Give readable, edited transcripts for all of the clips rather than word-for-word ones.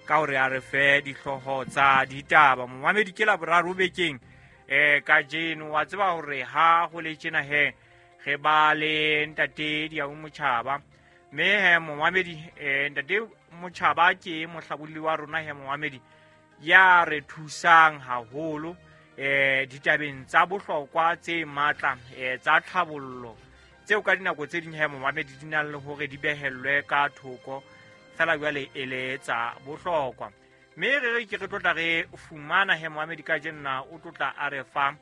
Ka hore a re fe dihlooho tsa ditaba. Momamedi, ke Laboraro bekeng kajeno. Wa tseba hore ha ho le tjena he re ba le ntate Diau Motjhaba, mme he momamedi, ntate Motjhaba ke mohlabolli wa rona he momamedi, ya re thusang haholo ditabeng tsa bohlokwa tse matla tsa tlhabollo, tseo ka dinako tse ding he momamedi di nang le hore di behellwe ka thoko, fela jwale e le tsa bohlokwa. Mme re re ke re tlotla re fumana he momamedi ka jenna o tlotla a re fa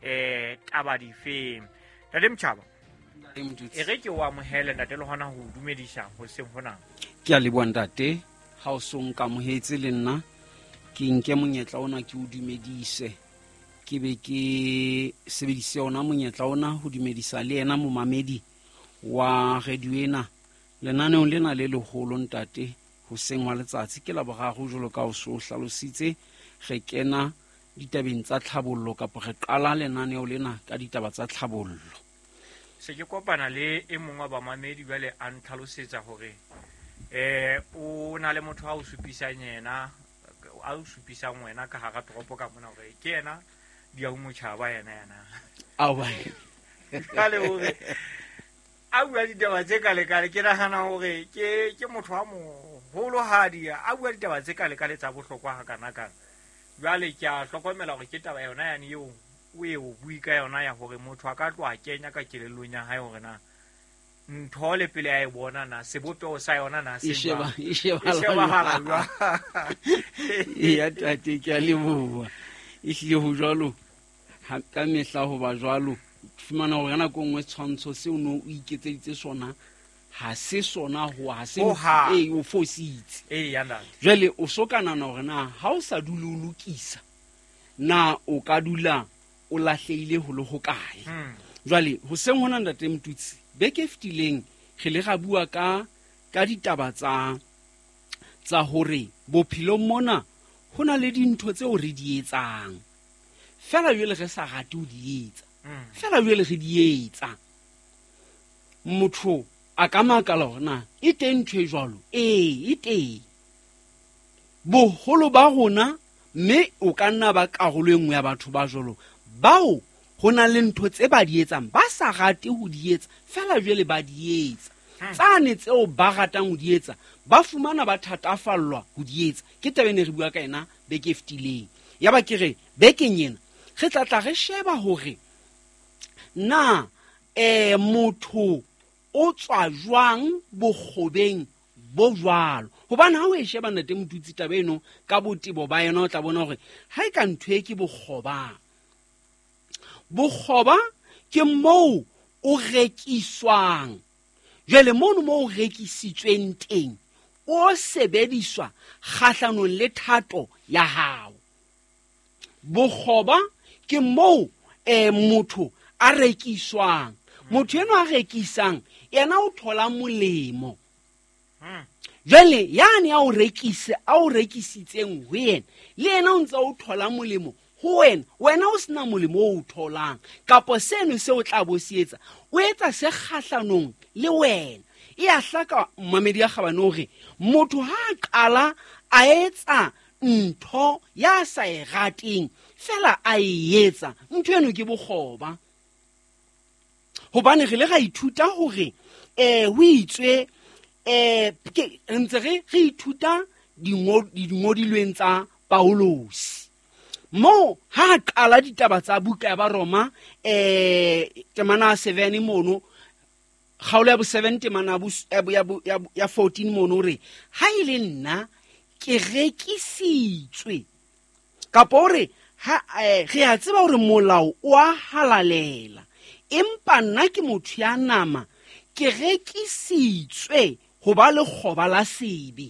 taba difeng. Ntate Motjhaba, e re ke o amohele ntate le hona ho dumedisa hoseng hona. Ke a leboha ntate, ha o so nkamohetse le nna ke nke monyetla ona ke o dumedise, ke be ke sebedise ona monyetla ona ho dumedisa le yena momamedi wa radio ena lenaneong lena le leholo ntate. Hoseng wa letsatsi ke Laboraro, jwalo ka o so hlalositse, re kena ditabeng tsa tlhabollo, kapa re qala lenaneo lena ka ditaba tsa tlhabollo. Se ke kopana le e mongwe wa bamamedi jwale a ntlhalosetsa hore o na le motho a o supisang yena, a o supisang wena ka hara toropo ka mona, hore ke yena Diau Motjhaba yena yena. Aowa. Jwale hore a bua ditaba tse kalekale, ke nahana hore ke motho wa moholohadi, a bua ditaba tse kalekale tsa bohlokwa hakanakana. Jwale ke a hlokomela hore ke taba yona yane eo o e o bue ka yona, ya hore motho a ka tloha kenya ka kelellong ya hae hore na ntho le pele a e bona na sebopeho sa yona na se jwang. E E shebahala jwang. Eya tate, ke a leboha. Ehlile ho jwalo, ka mehla ho ba jwalo. Fumana hore ka nako e nngwe setshwantsho seo no o iketseditse sona ha se sona, ho ha se Ho hang. ee, o fositse. Eya, ntate. Jwale o so ka nahana hore na ha o sa dule o lokisa, na o ka dula o lahlehile ho le hokae. Jwale hoseng hona ntate Motutsi, beke e fetileng re le ra bua ka ditaba tsa hore bophelong mona ho na le dintho tseo re di etsang, fela jwale re sa rate ho di etsa, fela jwale re di etsa. Motho a ka makala hore na e teng ntho e jwalo. Ee, e teng. Boholo ba rona, mme o ka nna ba karolo e nngwe ya batho ba jwalo, bao ho na le ntho tse ba di etsang, ba sa rate ho di etsa, fela jwale ba di etsa. Tsane tseo ba ratang ho di etsa, ba fumana ba thatafallwa ho di etsa. Ke taba e ne re bua ka yena beke e fetileng. Ya ba ke re bekeng ena re tla tla re sheba hore na motho o tswa jwang bokgobeng bo jwalo. Hobane ha o e sheba ntate Motutsi taba eno ka botebo ba yona, o tla bona hore ha e ka ntho e ke bokgoba. Bokgoba ke moo o rekiswang. Jwale mono moo o rekisitsweng teng, o sebediswa kgahlanong le thato ya hao. Bokgoba ke moo motho a rekiswang. Motho enwa a rekisang, yena o thola molemo. Jwale yane a o rekise, a o rekisitseng ho yena, le yena o ntse o thola molemo ho wena, wena o sena molemo o o tholang, kapo seno se o tla bo se etsa, o etsa se kgahlanong le wena. E a hlaka mmamedi ya kgabane hore motho ha a qala a etsa ntho ya sa e rateng, fela a e etsa, ntho eno ke bokgoba. Hobane re le ra ithuta hore, ho itswe, ke, re ntse re ithuta dingodilweng tsa Paulus. Moo ha a qala ditaba tsa buka ya Baroma, temana ya 7 mono, kgaolo ya bo 7 temana ya bo ya bo, ya bo, ya bo, ya 14 mono, o re, ha e le nna ke rekisitswe. Kapo o re, ha, re a tseba hore molao o a halalela, empa nna ke motho ya nama, ke rekisitswe ho ba lekgoba la sebe.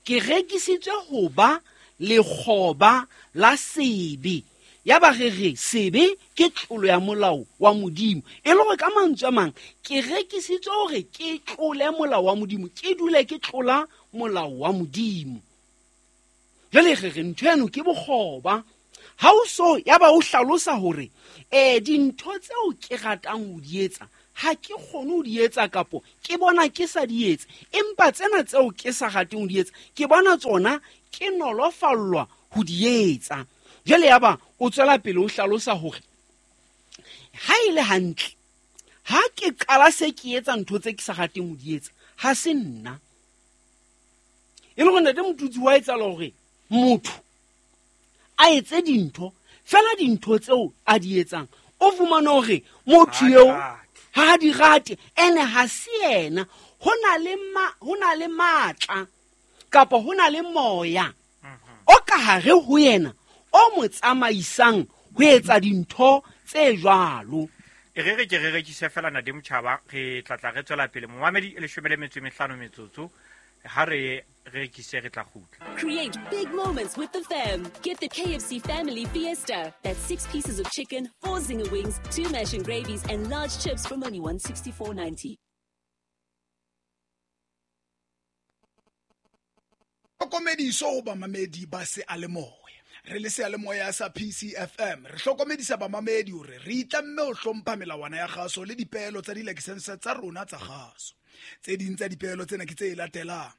Ke rekisitswe ho ba lekgoba la sebe. Ya ba re re sebe ke tlolo ya molao wa Modimo. E le hore ka mantswe a mang, ke rekisitswe hore ke tlole molao wa Modimo, ke dule ke tlola molao wa Modimo. Jwale re re ntho eno ke bokgoba. Ha o so, ya ba o hlalosa hore, dintho tseo ke ratang ho di etsa, ha ke kgone ho di etsa kapo ke bona ke sa di etse, empa tsena tseo ke sa rateng ho di etsa ke bona tsona ke nolofallwa ho di etsa. Jwale yaba o tswela pele o hlalosa hore ha e le hantle ha ke qala se ke etsa ntho tse ke sa rateng ho di etsa, ha se nna. E le hore ntate Motutsi wa etsahala hore motho a etse dintho fela, dintho tseo a di etsang o fumane hore motho eo ha di rate, ene ha se yena. Ho na le matla kapa ho na le moya o ka hare ho yena o mo tsamaisang ho etsa dintho tse jwalo. E re ke re rekise fela Nade Motjhaba, re tla re tswela pele. Momamedi e 15 metsotso ha re rekise re tla kgutla. Create big moments with the fam. Get the KFC Family Fiesta. That's 6 pieces of chicken, 4 zinger wings, 2 mash and gravies, and large chips from only $164.90. Hlokomediso ho bamamedi ba seyalemoya. Re le seyalemoya sa PCFM re hlokomedisa bamamedi hore re itlamme ho hlompha melawana ya kgaso le dipeelo tsa dilakesense tsa rona tsa kgaso. Tse ding tsa dipeelo tsena ke tse latelang: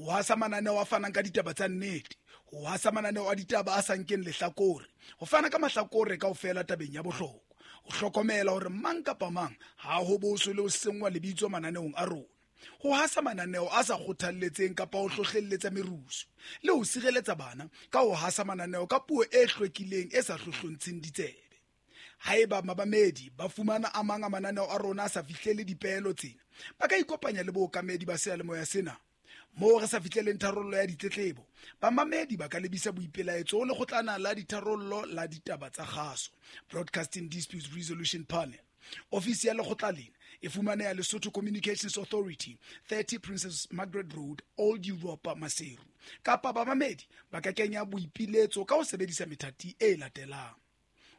ho hasa mananeo a fanang ka ditaba tsa nnete, ho hasa mananeo a ditaba a sa nkeng lehlakore, ho fana ka mahlakore kaofela tabeng ya bohlokwa, ho hlokomela hore mang kapa mang ha ho boswe le ho senngwa lebitso mananeong a rona, ho hasa mananeo a sa kgothalletseng kapa ho hlohlelletsa merusu, le ho sireletsa bana ka ho hasa mananeo ka puo e hlwekileng e sa hlohlontsheng ditsebe. Haeba mabamedi ba fumana a mang a mananeo a rona a sa fihlele dipeelo tsena, ba ka ikopanya le bookamedi ba seyalemoya sena. Moo re sa fihleleng tharollo ya ditletlebo, bamamedi ba ka lebisa boipelaetso ho lekgotlana la ditharollo la ditaba tsa kgaso, Broadcasting Disputes Resolution Panel. Ofisi ya lekgotla lena e fumaneha Lesotho Communications Authority, 30 Princess Margaret Road, Old Europa, Maseru. Kapa bamamedi ba ka kenya boipiletso ka ho sebedisa methati e latelang: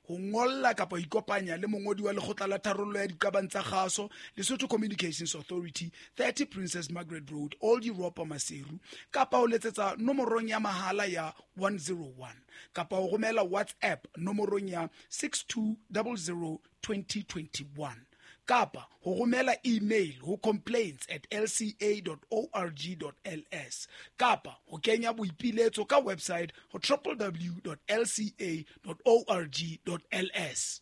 ho ngolla kapa ho ikopanya le mongodi wa lekgotla la tharollo ya diqabang tsa kgaso, Lesotho Communications Authority, 30 Princess Margaret Road, Old Europa, Maseru, kapa ho letsetsa nomorong ya mahala ya 101, kapa ho romela WhatsApp nomorong ya 6200 2021, kapa ho romela email ho complaints@lca.org.ls, kapa ho kenya boipiletso ka website ho www.lca.org.ls.